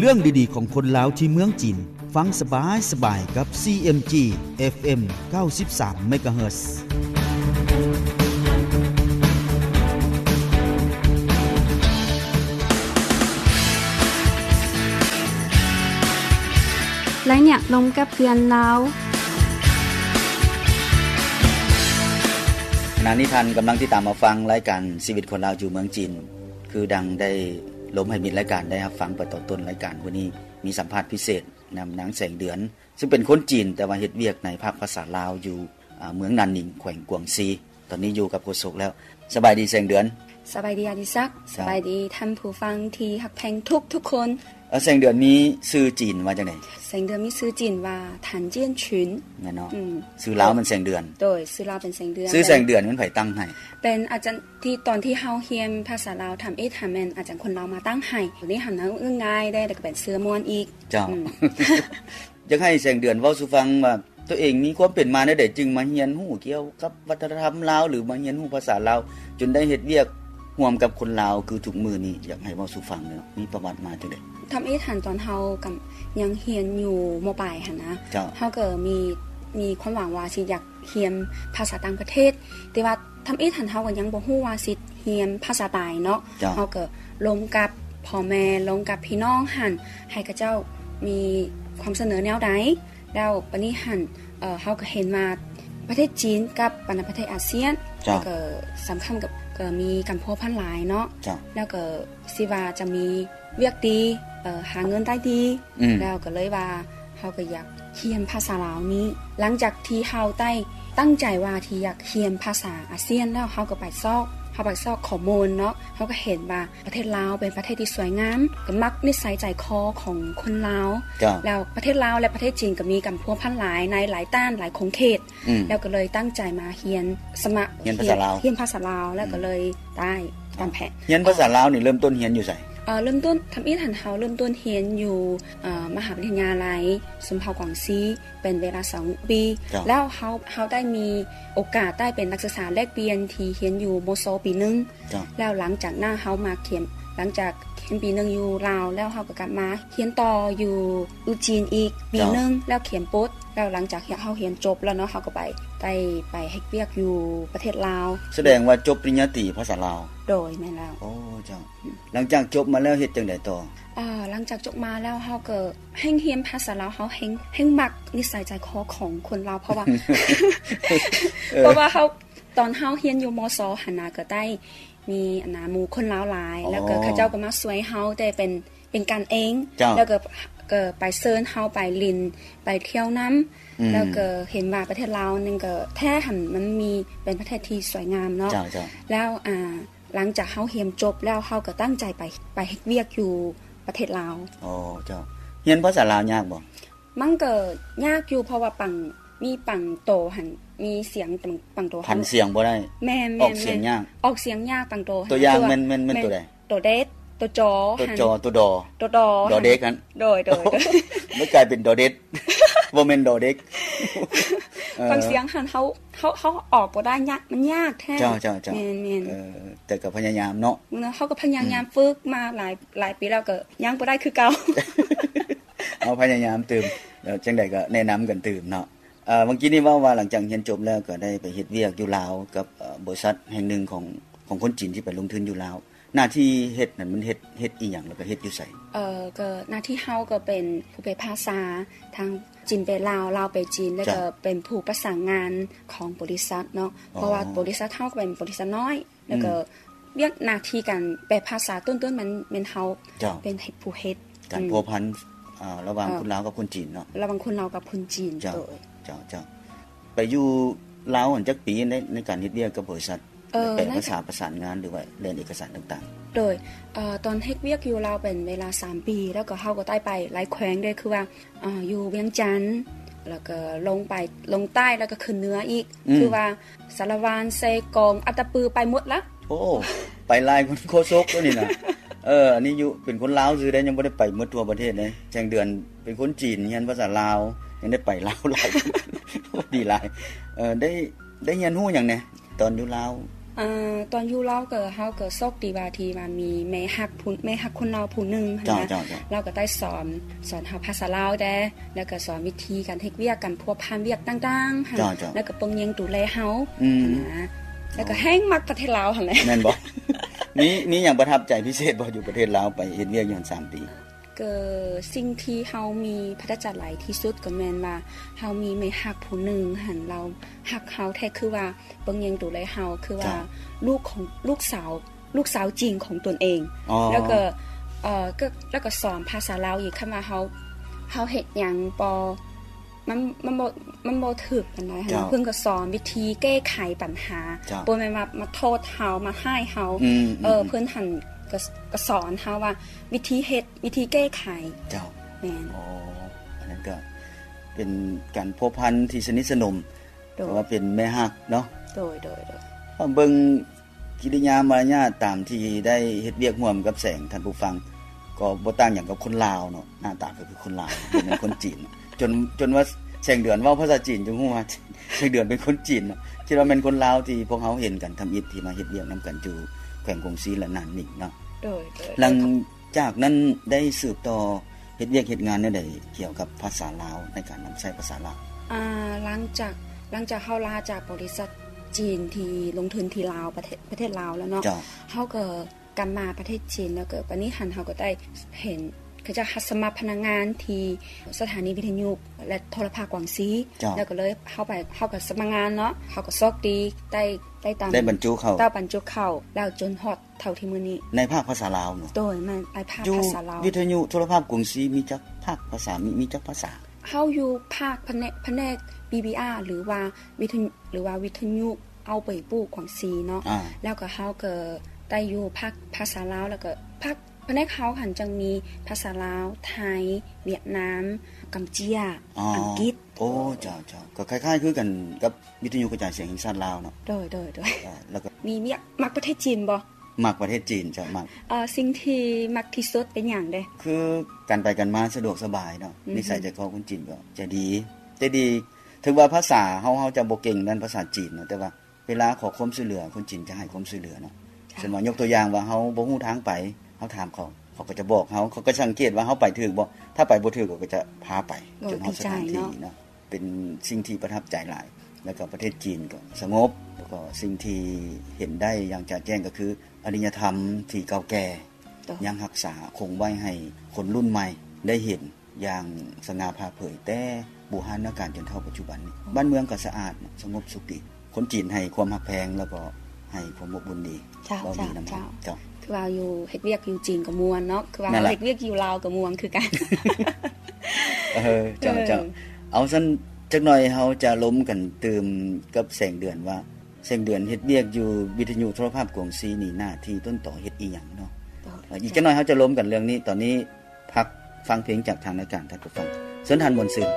ເລື່ອງດີໆຂອງຄົນລາວທີ່ເມືອງຈີນ, ຟັງສະບາຍໆກັບ ຊີເອັມຈີ ເອັຟເອັມ ເກົ້າສິບສາມ ເມກາເຮີດ. ໄລຍະລົມກັບເພື່ອນລາວ. ຂະນະນີ້ທ່ານກຳລັງຕິດຕາມຮັບຟັງລາຍການຊີວິດຄົນລາວຢູ່ເມືອງຈີນ. ຄືດັ່ງໄດ້ລົມໃຫ້ມິດລາຍການໄດ້ຮັບຟັງໄປຕອນຕົ້ນລາຍການ, ມື້ນີ້ມີສຳພາດພິເສດນຳນາງແສງເດືອນ ຊຶ່ງເປັນຄົນຈີນ ແຕ່ວ່າເຮັດວຽກໃນພາກພາສາລາວຢູ່ ອາ ເມືອງນານນິງ ແຂວງກວາງຊີ. ຕອນນີ້ຢູ່ກັບໂຄສົກແລ້ວ. ສະບາຍດີແສງເດືອນ. ສະບາຍດີອາດິສັກ. ສະບາຍດີທ່ານຜູ້ຟັງທີ່ຮັກແພງທຸກໆຄົນ. ເອີ ແສງເດືອນມີຊື່ຈີນວ່າຈັ່ງໃດ? ແສງເດືອນມີຊື່ຈີນວ່າ ຖັນຈຽນຊິນ ແມ່ນເນາະ. ອືມ ຊື່ລາວແມ່ນແສງເດືອນ. ໂດຍ ຊື່ລາວເປັນແສງເດືອນ. ຊື່ແສງເດືອນແມ່ນໃຜຕັ້ງໃຫ້? ເປັນອາຈານ ທີ່ຕອນທີ່ເຮົາຮຽນພາສາລາວ ທຳອິດຫັ້ນແມ່ນອາຈານຄົນລາວມາຕັ້ງໃຫ້. ດຽວນີ້ຫັ້ນນະ ເອີ້ນງ່າຍເດ້ ແລ້ວກໍເປັນຊື່ມ່ວນອີກ. ເຈົ້າ. ອືມ ຢາກໃຫ້ແສງເດືອນເວົ້າສູ່ຟັງວ່າ ຕົວເອງມີຄວາມເປັນມາແນວໃດ ຈຶ່ງມາຮຽນຮູ້ກ່ຽວກັບວັດທະນະທຳລາວ ຫຼື ມາຮຽນຮູ້ພາສາລາວ ຈົນໄດ້ເຮັດວຽກຮ່ວມກັບຄົນລາວຄືທຸກມື້ນີ້. ຢາກໃຫ້ເວົ້າສູ່ຟັງເນາະ ມີປະຫວັດມາຈັ່ງໃດ? ທຳອິດຫັ້ນຕອນເຮົາກຳ ຍັງຮຽນຢູ່ ມໍປາຍຫັ້ນນະ ເຈົ້າ ເຮົາກໍມີ ມີຄວາມຫວັງວ່າຊິຢາກຮຽນພາສາຕ່າງປະເທດ ແຕ່ວ່າ ທຳອິດຫັ້ນເຮົາກໍຍັງບໍ່ຮູ້ວ່າຊິຮຽນພາສາໃດເນາະ. ເຈົ້າ. ເຮົາກໍລົມກັບພໍ່ແມ່ ລົມກັບພີ່ນ້ອງຫັ້ນ ໃຫ້ເຂົາເຈົ້າມີຄວາມສະເໜີແນວໃດ ແລ້ວບາດນີ້ຫັ້ນ ເອີ ເຮົາກໍເຫັນວ່າປະເທດຈີນກັບບັນດາປະເທດອາຊຽນ ເຈົ້າ ແລ້ວກໍສຳຄັນກັບ ກໍມີການພົວພັນຫຼາຍເນາະ. ເຈົ້າ. ແລ້ວກໍ ຊິວ່າຈະມີວຽກດີ ເອີ ຫາເງິນໄດ້ດີ ອືມ ແລ້ວກໍເລີຍວ່າເຮົາກໍຢາກຮຽນພາສາລາວນີ້. ຫຼັງຈາກທີ່ເຮົາໄດ້ຕັ້ງໃຈວ່າທີ່ຢາກຮຽນພາສາອາຊຽນແລ້ວ ເຮົາກໍໄປຊອກ ເຮົາໄປຊອກຂໍ້ມູນເນາະ ເຮົາກໍເຫັນວ່າປະເທດລາວເປັນປະເທດທີ່ສວຍງາມ ກໍມັກນິໄສໃຈຄໍຂອງຄົນລາວ. ເຈົ້າ. ແລ້ວປະເທດລາວ ແລະ ປະເທດຈີນກໍມີການພົວພັນຫຼາຍໃນຫຼາຍດ້ານ ຫຼາຍຂົງເຂດ. ອືມ ແລ້ວກໍເລີຍຕັ້ງໃຈມາຮຽນ ສະໝັກຮຽນພາສາລາວ ຮຽນພາສາລາວ ແລ້ວກໍເລີຍໄດ້ຕາມແຜນ. ຮຽນພາສາລາວນີ້ເລີ່ມຕົ້ນຮຽນຢູ່ໃສ? ເອີ ເລີ່ມຕົ້ນ ທຳອິດຫັ້ນເຮົາເລີ່ມຕົ້ນຮຽນຢູ່ ເອີ ມະຫາວິທະຍາໄລຊົນເຜົ່າກວາງຊີ ເປັນເວລາສອງປີ. ເຈົ້າ. ແລ້ວເຮົາ ເຮົາໄດ້ມີໂອກາດໄດ້ເປັນນັກສຶກສາແລກປ່ຽນທີ່ຮຽນຢູ່ ມສ ປີໜຶ່ງ. ເຈົ້າ. ແລ້ວຫຼັງຈາກນັ້ນເຮົາມາຮຽນ ຫຼັງຈາກຮຽນປີໜຶ່ງຢູ່ລາວແລ້ວ ເຮົາກໍກັບມາຮຽນຕໍ່ຢູ່ອູຈີນອີກປີໜຶ່ງ. ເຈົ້າ. ແລ້ວຮຽນຈົບ ແລ້ວຫຼັງຈາກເຮົາຮຽນຈົບແລ້ວເນາະ ເຮົາກໍໄປ ໄດ້ໄປເຮັດວຽກຢູ່ປະເທດລາວ. ສະແດງວ່າຈົບປະລິນຍາຕີພາສາລາວ? ໂດຍ ແມ່ນແລ້ວ. ໂອ້ ເຈົ້າ. ຫຼັງຈາກຈົບມາແລ້ວເຮັດຈັ່ງໃດຕໍ່? ເອີ ຫຼັງຈາກຈົບມາແລ້ວເຮົາກໍແຮ່ງຮຽນພາສາລາວ ເຮົາແຮ່ງ ແຮ່ງມັກນິໄສໃຈຄໍຂອງຄົນລາວ ເພາະວ່າ ເອີ ເພາະວ່າເຮົາ ຕອນເຮົາຮຽນຢູ່ ມສ ຫັ້ນນະ ກໍໄດ້ມີອັນນະ ໝູ່ຄົນລາວຫຼາຍ. ອໍ. ແລ້ວກໍເຂົາເຈົ້າກໍມາຊ່ວຍເຮົາ ແຕ່ເປັນ ເປັນກັນເອງ. ເຈົ້າ. ແລ້ວກໍ ກໍໄປເຊີນເຮົາໄປຫຼິ້ນ ໄປທ່ຽວນຳ. ອືມ. ແລ້ວກໍເຫັນວ່າປະເທດລາວນີ້ກໍແທ້ຫັ້ນ ມັນມີ ເປັນປະເທດທີ່ສວຍງາມເນາະ. ເຈົ້າ ເຈົ້າ. ແລ້ວ ອ່າ ຫຼັງຈາກເຮົາຮຽນຈົບແລ້ວ ເຮົາກໍຕັ້ງໃຈໄປ ໄປເຮັດວຽກຢູ່ປະເທດລາວ. ອໍ ເຈົ້າ. ຮຽນພາສາລາວຍາກບໍ່? ມັນກໍຍາກຢູ່ ເພາະວ່າບາງ ມີບາງໂຕຫັ້ນ ມີສຽງບາງ ບາງໂຕ ຜັນສຽງບໍ່ໄດ້. ແມ່ນໆໆ. ອອກສຽງຍາກ. ອອກສຽງຍາກບາງໂຕ. ຕົວຢ່າງແມ່ນ ແມ່ນ ແມ່ນໂຕໃດ? ໂຕເດັດ ໂຕຈໍ ໂຕຈໍ ໂຕດໍ ໂຕດໍ ດໍເດັກຫັ້ນ. ໂດຍໆໆ. ມັນກາຍເປັນດໍເດັດ ບໍ່ແມ່ນດໍເດັກ. ເອີ ບາງສຽງຫັ້ນເຮົາ ເຮົາ ເຮົາອອກບໍ່ໄດ້ ຍາກ ມັນຍາກແທ້. ເຈົ້າໆໆ. ແມ່ນໆ. ເອີ ແຕ່ກໍພະຍາຍາມເນາະ. ເຮົາກໍພະຍາຍາມ ອືມ ຝຶກມາຫຼາຍ ຫຼາຍປີແລ້ວ ກໍຍັງບໍ່ໄດ້ຄືເກົ່າ. ເຮົາພະຍາຍາມຕື່ມ ແລ້ວຈັ່ງໃດກໍແນະນຳກັນຕື່ມເນາະ. ເອີ ເມື່ອກີ້ນີ້ເວົ້າວ່າຫຼັງຈາກຮຽນຈົບແລ້ວກໍໄດ້ໄປເຮັດວຽກຢູ່ລາວກັບ ເອີ ບໍລິສັດແຫ່ງໜຶ່ງຂອງ ຂອງຄົນຈີນທີ່ໄປລົງທຶນຢູ່ລາວ. ໜ້າທີ່ເຮັດນັ້ນມັນເຮັດ ເຮັດອີ່ຫຍັງ ແລ້ວກໍເຮັດຢູ່ໃສ? ເອີ ກໍໜ້າທີ່ເຮົາກໍເປັນຜູ້ແປພາສາ ທາງຈີນແປລາວ ລາວແປຈີນ ແລ້ວກໍເປັນຜູ້ປະສານງານຂອງບໍລິສັດເນາະ. ອໍ. ເພາະວ່າບໍລິສັດເຮົາກໍເປັນບໍລິສັດນ້ອຍ ແລ້ວກໍ ອືມ ວຽກໜ້າທີ່ການແປພາສາຕົ້ນໆ ມັນແມ່ນເຮົາ ເຈົ້າ ເປັນຜູ້ເຮັດ. ການ ອືມ ພົວພັນ ອ່າ ລະຫວ່າງ ເອີ ຄົນລາວກັບຄົນຈີນເນາະ. ລະຫວ່າງຄົນລາວກັບຄົນຈີນ. ເຈົ້າ ໂດຍ ເຈົ້າ ເຈົ້າ. ໄປຢູ່ລາວຫັ້ນຈັກປີໃນ ໃນການເຮັດວຽກກັບບໍລິສັດ? ເອີ ແປພາສາ ປະສານງານ ຫຼືວ່າແລ່ນເອກະສານຕ່າງໆ? ໂດຍ ເອີ ຕອນເຮັດວຽກຢູ່ລາວເປັນເວລາສາມປີ ແລ້ວກໍເຮົາກໍໄດ້ໄປຫຼາຍແຂວງເດ້ ຄືວ່າ ເອີ ຢູ່ວຽງຈັນ ແລ້ວກໍລົງໄປ ລົງໃຕ້ ແລ້ວກໍຂຶ້ນເໜືອອີກ. ອືມ. ຄືວ່າ ສາລະວັນ ເຊກອງ ອັດຕະປື ໄປໝົດລະ. ໂອ້ ໄປຫຼາຍກວ່າໂຄສົກຕົວນີ້ນະ. ເອີ ອັນນີ້ຢູ່ເປັນຄົນລາວຊື່ເດ້ ຍັງບໍ່ໄດ້ໄປໝົດທົ່ວປະເທດເດ້. ແສງເດືອນເປັນຄົນຈີນ ຮຽນພາສາລາວ ຍັງໄດ້ໄປລາວຫຼາຍ. ໂອ້ ດີຫຼາຍ. ເອີ ໄດ້ ໄດ້ຮຽນຮູ້ຫຍັງແດ່ຕອນຢູ່ລາວ? ອາ ຕອນຢູ່ລາວກໍ ເຮົາກໍໂຊກດີວ່າທີ່ວ່າມີແມ່ຮັກຜູ້ ແມ່ຮັກຄົນລາວຜູ້ໜຶ່ງຫັ້ນນະ ເຈົ້າໆໆ ລາວກໍໄດ້ສອນ ສອນເຮົາພາສາລາວແດ່ ແລ້ວກໍສອນວິທີການເຮັດວຽກ ການພົວພັນວຽກຕ່າງໆຫັ້ນ ເຈົ້າໆ ແລ້ວກໍເບິ່ງແຍງດູແລເຮົາ ອືມ ຫັ້ນນະ ເຈົ້າ ແລ້ວກໍແຮ່ງມັກປະເທດລາວຫັ້ນແຫຼະ. ແມ່ນບໍ່? ມີ ມີຫຍັງປະທັບໃຈພິເສດບໍ່ ຢູ່ປະເທດລາວ ໄປເຮັດວຽກຢູ່ຫັ້ນສາມປີ? ກໍສິ່ງທີ່ເຮົາມີປະທັບໃຈຫຼາຍທີ່ສຸດກໍແມ່ນວ່າ ເຮົາມີແມ່ຮັກຜູ້ໜຶ່ງຫັ້ນ ລາວຮັກເຮົາແທ້ ຄືວ່າເບິ່ງແຍງດູແລເຮົາ ຄືວ່າ ເຈົ້າ ລູກຂອງ ລູກສາວ ລູກສາວຈີນຂອງຕົນເອງ ອໍ ແລ້ວກໍ ເອີ ກໍ ແລ້ວກໍສອນພາສາລາວອີກ ຄັນວ່າເຮົາ ເຮົາເຮັດຫຍັງບໍ່ ມັນ ມັນບໍ່ ມັນບໍ່ຖືກປານໃດຫັ້ນ ເຈົ້າ ເພິ່ນກໍສອນວິທີແກ້ໄຂບັນຫາ ເຈົ້າ ບໍ່ແມ່ນວ່າມາໂທດເຮົາ ມາຮ້າຍເຮົາ ອືມໆໆ ເອີ ເພິ່ນຫັ້ນກໍ ກໍສອນເຮົາວ່າວິທີເຮັດ ວິທີແກ້ໄຂ ເຈົ້າ ແມ່ນ ອໍ ອັນນັ້ນກໍເປັນການພົວພັນທີ່ສະໜິດສະໜົມ ໂດຍ ເພາະວ່າເປັນແມ່ຮັກເນາະ ໂດຍໆ ເບິ່ງ ກິລິຍາມາລະຍາດຕາມທີ່ໄດ້ເຮັດວຽກຮ່ວມກັບແສງ ທ່ານຜູ້ຟັງ ກໍບໍ່ຕ່າງຫຍັງກັບຄົນລາວເນາະ ໜ້າຕາກໍຄືຄົນລາວ ບໍ່ແມ່ນຄົນຈີນ ຈົນ ຈົນວ່າແສງເດືອນເວົ້າພາສາຈີນ ຈຶ່ງຮູ້ວ່າແສງເດືອນເປັນຄົນຈີນເນາະ ຄິດວ່າແມ່ນຄົນລາວທີ່ພວກເຮົາເຫັນກັນທຳອິດ ທີ່ມາເຮັດວຽກນຳກັນຢູ່ແຂວງກົງຊີ ແລະ ໜານໜິງເນາະ ໂດຍໆ ຫຼັງຈາກນັ້ນໄດ້ສືບຕໍ່ ເຮັດວຽກເຮັດງານແນວໃດກ່ຽວກັບພາສາລາວ ໃນການນຳໃຊ້ພາສາລາວ? ອາ ຫຼັງຈາກ ຫຼັງຈາກເຮົາລາຈາກບໍລິສັດຈີນທີ່ລົງທຶນທີ່ລາວ ປະເທດ ປະເທດລາວແລ້ວເນາະ ເຈົ້າ ເຮົາກໍກັບມາປະເທດຈີນ ແລ້ວກໍບາດນີ້ຫັ້ນເຮົາກໍໄດ້ເຫັນ ເຂົາເຈົ້າຮັບສະໝັກພະນັກງານທີ່ສະຖານີວິທະຍຸ ແລະ ໂທລະພາບກວາງຊີ ເຈົ້າ ແລ້ວກໍເລີຍເຮົາໄປ ເຮົາກໍສະໝັກງານເນາະ ເຮົາກໍໂຊກດີໄດ້ ໄດ້ຕາມ ໄດ້ບັນຈຸເຂົ້າ ໄດ້ບັນຈຸເຂົ້າ ແລ້ວຈົນຮອດ ເທົ່າທີ່ມື້ນີ້ ໃນພາກພາສາລາວເນາະ ໂດຍ ແມ່ນ ໃນພາກພາສາລາວ ຢູ່ວິທະຍຸໂທລະພາບກວາງຊີ ມີຈັກພາກພາສາ ມີ ມີຈັກພາສາ? ເຮົາຢູ່ພາກພະແນກ ພະແນກ ບີບີອາ ຫຼືວ່າວິທະຍຸ ຫຼືວ່າວິທະຍຸເອົາໄປປູກກວາງຊີເນາະ ອາ ແລ້ວກໍເຮົາກໍໄດ້ຢູ່ພາກພາສາລາວ ແລ້ວກໍພາກ ພະແນກເຮົາຫັ້ນຈັ່ງມີພາສາລາວ ໄທ ຫວຽດນາມ ກຳເຈຍ ອໍ ອັງກິດ ໂອ້ ເຈົ້າໆ ກໍຄ້າຍໆຄືກັນກັບວິທະຍຸກະຈາຍສຽງແຫ່ງຊາດລາວເນາະ ໂດຍໆໆ ອາ ແລ້ວກໍມີວຽກ ມັກປະເທດຈີນບໍ່? ມັກປະເທດຈີນ ເຈົ້າ ມັກ ເອີ ສິ່ງທີ່ມັກທີ່ສຸດເປັນຫຍັງເດ? ຄືການໄປການມາສະດວກສະບາຍເນາະ ອືຮຶ ນິໄສໃຈຄໍຄົນຈີນກໍໃຈດີ ໃຈດີ ເຖິງວ່າພາສາເຮົາ ເຮົາຈະບໍ່ເກັ່ງດ້ານພາສາຈີນເນາະ ແຕ່ວ່າເວລາຂໍຄວາມຊ່ວຍເຫຼືອ ຄົນຈີນຈະໃຫ້ຄວາມຊ່ວຍເຫຼືອເນາະ ເຊັ່ນວ່າຍົກຕົວຢ່າງວ່າເຮົາບໍ່ຮູ້ທາງໄປ ເຮົາຖາມເຂົາ ເຂົາກໍຈະບອກເຮົາ ເຂົາກໍສັງເກດວ່າເຮົາໄປຖືກບໍ່ ຖ້າໄປບໍ່ຖືກ ເຂົາກໍຈະພາໄປຈົນຮອດສະຖານທີ່ເນາະ ເປັນສິ່ງທີ່ປະທັບໃຈຫຼາຍ ແລ້ວກໍປະເທດຈີນກໍສະຫງົບ ແລ້ວກໍສິ່ງທີ່ເຫັນໄດ້ຢ່າງຈະແຈ້ງກໍຄື ອາລິຍະທຳທີ່ເກົ່າແກ່ ຍັງຮັກສາຄົງໄວ້ໃຫ້ຄົນລຸ້ນໃໝ່ໄດ້ເຫັນຢ່າງສະຫງ່າຜ່າເຜີຍ ແຕ່ບູຮານນະການຈົນເທົ່າປັດຈຸບັນນີ້ ບ້ານເມືອງກໍສະອາດ ສະຫງົບສຸກດີ ຄົນຈີນໃຫ້ຄວາມຮັກແພງ ແລ້ວກໍໃຫ້ຄວາມອົບອຸ່ນດີ ເວົ້າດີນຳເຮົາ ເຈົ້າ ຄືວ່າຢູ່ເຮັດວຽກຢູ່ຈີນກໍມ່ວນເນາະ ຄືວ່າເຮົາເຮັດວຽກຢູ່ລາວກໍມ່ວນຄືກັນ ເອີ ເຈົ້າໆ ເອີ ເອົາຊັ້ນ ຈັກໜ່ອຍເຮົາຈະລົມກັນຕື່ມກັບແສງເດືອນວ່າ ແສງເດືອນເຮັດວຽກຢູ່ວິທະຍຸໂທລະພາບກວາງຊີນີ້ ໜ້າທີ່ຕົ້ນຕໍເຮັດອີ່ຫຍັງເນາະ ເອີ ອີກຈັກໜ່ອຍເຮົາຈະລົມກັນເລື່ອງນີ້ ຕອນນີ້ພັກຟັງເພງຈາກທາງລາຍການ ທ່ານຜູ້ຟັງ ເຊີນທ່ານມ່ວນຊື່ນ.